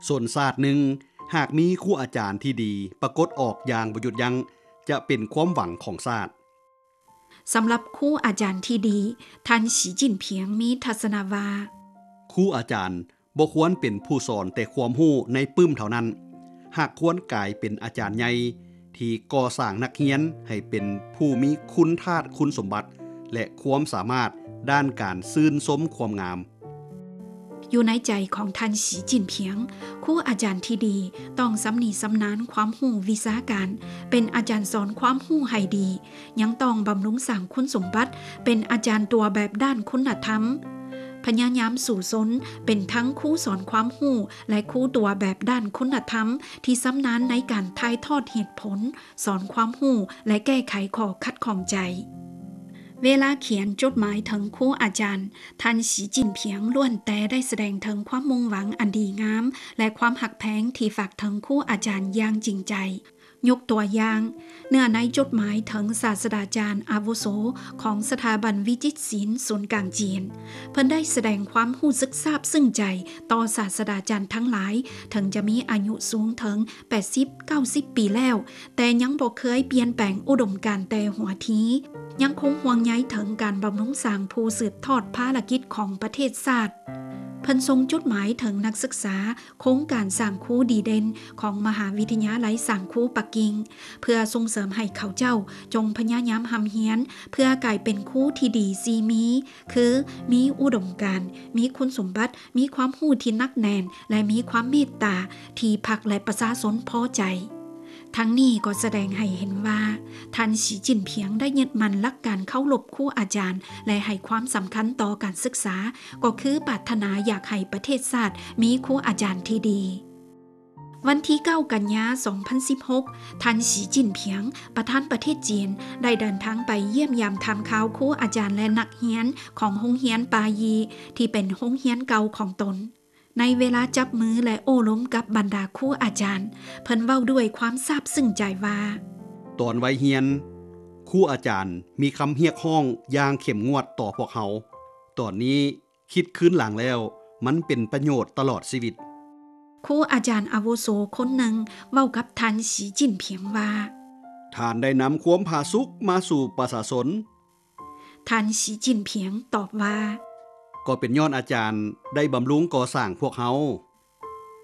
ຊົນຊາດໜຶ່ງ ຫາກມີຄູອາຈານທີ່ດີປາກົດອອກຢ່າງບໍ່ຢຸດຢັ້ງ ຈະເປັນຄວາມຫວັງຂອງຊາດ. ສຳລັບຄູອາຈານທີ່ດີ, ທ່ານ ສີ ຈິ້ນຜິງ ມີທັດສະນະວ່າ, ຄູອາຈານບໍ່ຄວນເປັນຜູ້ສອນແຕ່ຄວາມຮູ້ໃນປຶ້ມເທົ່ານັ້ນ, ຫາກຄວນກາຍເປັນອາຈານໃຫຍ່ທີ່ກໍ່ສ້າງນັກຮຽນໃຫ້ເປັນຜູ້ມີຄຸນທາດຄຸນສົມບັດ ແລະ ຄວາມສາມາດດ້ານການຊື່ນຊົມຄວາມງາມ. ຢູ່ໃນໃຈຂອງທ່ານ ສີ ຈິ້ນຜິງ, ຄູອາຈານທີ່ດີຕ້ອງຊຳນິຊຳນານຄວາມຮູ້ວິຊາການ, ເປັນອາຈານສອນຄວາມຮູ້ໃຫ້ດີ, ຍັງຕ້ອງບຳລຸງສ້າງຄຸນສົມບັດເປັນອາຈານຕົວແບບດ້ານຄຸນນະທຳ, ພະຍາຍາມສູ້ຊົນເປັນທັງຄູສອນຄວາມຮູ້ ແລະ ຄູຕົວແບບດ້ານຄຸນນະທຳທີ່ຊຳນານໃນການຖ່າຍທອດເຫດຜົນ, ສອນຄວາມຮູ້ ແລະ ແກ້ໄຂຂໍ້ຂັດຂ້ອງໃຈ. ເວລາຂຽນຈົດໝາຍເຖິງຄູອາຈານ, ທ່ານ ສີ ຈິ້ນຜິງ ລ້ວນແຕ່ໄດ້ສະແດງເຖິງຄວາມມຸ່ງຫວັງອັນດີງາມ ແລະ ຄວາມຮັກແພງທີ່ຝາກເຖິງຄູອາຈານຢ່າງຈິງໃຈ. ຍົກຕົວຢ່າງ, ເນື້ອໃນຈົດໝາຍເຖິງສາດສະດາຈານອາວຸໂສຂອງສະຖາບັນວິຈິດສິນສູນກາງຈີນ, ເພິ່ນໄດ້ສະແດງຄວາມຮູ້ສຶກຊາບຊຶ້ງໃຈຕໍ່ສາດສະດາຈານທັງຫຼາຍ, ເຖິງຈະມີອາຍຸສູງເຖິງແປດສິບ ເກົ້າສິບປີແລ້ວ, ແຕ່ຍັງບໍ່ເຄີຍປ່ຽນແປງອຸດົມການແຕ່ຫົວທີ, ຍັງຄົງຫ່ວງໃຍເຖິງການບຳລຸງສ້າງຜູ້ສືບທອດພາລະກິດຂອງປະເທດຊາດ. ເພິ່ນສົ່ງຈົດໝາຍເຖິງນັກສຶກສາໂຄງການສ້າງຄູດີເດັ່ນຂອງມະຫາວິທະຍາໄລສ້າງຄູປັກກິ່ງ, ເພື່ອສົ່ງເສີມໃຫ້ເຂົາເຈົ້າຈົ່ງພະຍາຍາມຮ່ຳຮຽນເພື່ອກາຍເປັນຄູທີ່ດີສີ່ມີ, ຄື ມີອຸດົມການ, ມີຄຸນສົມບັດ, ມີຄວາມຮູ້ທີ່ໜັກແໜ້ນ ແລະ ມີຄວາມເມດຕາທີ່ພັກ ແລະ ປະຊາຊົນພໍໃຈ. ທັງນີ້ກໍສະແດງໃຫ້ເຫັນວ່າ ທ່ານ ສີ ຈິ້ນຜິງ ໄດ້ຍຶດໝັ້ນຫຼັກການເຄົາລົບຄູອາຈານ ແລະ ໃຫ້ຄວາມສຳຄັນຕໍ່ການສຶກສາ, ກໍຄືປາດຖະໜາຢາກໃຫ້ປະເທດຊາດມີຄູອາຈານທີ່ດີ. ວັນທີເກົ້າ ກັນຍາ ສອງພັນສິບຫົກ, ທ່ານ ສີ ຈິ້ນຜິງ ປະທານປະເທດຈີນ ໄດ້ເດີນທາງໄປຢ້ຽມຢາມຖາມຂ່າວຄູອາຈານ ແລະ ນັກຮຽນຂອງໂຮງຮຽນປາຢີ ທີ່ເປັນໂຮງຮຽນເກົ່າຂອງຕົນ. ໃນເວລາຈັບມື ແລະ ໂອ້ລົມກັບບັນດາຄູອາຈານ, ເພິ່ນເວົ້າດ້ວຍຄວາມຊາບຊຶ້ງໃຈວ່າ, ຕອນໄວຮຽນ, ຄູອາຈານມີຄຳຮຽກຮ້ອງຢ່າງເຂັ້ມງວດຕໍ່ພວກເຮົາ. ຕອນນີ້ຄິດຄືນຫຼັງແລ້ວ, ມັນເປັນປະໂຫຍດຕະຫຼອດຊີວິດ. ຄູອາຈານອາວຸໂສຄົນໜຶ່ງເວົ້າກັບທ່ານ ສີ ຈິ້ນຜິງ ວ່າ, ທ່ານໄດ້ນຳຄວາມຜາສຸກມາສູ່ປະຊາຊົນ. ທ່ານ ສີ ຈິ້ນຜິງ ຕອບວ່າ, ກໍເປັນຍ້ອນອາຈານໄດ້ບຳລຸງກໍ່ສ້າງພວກເຮົາ.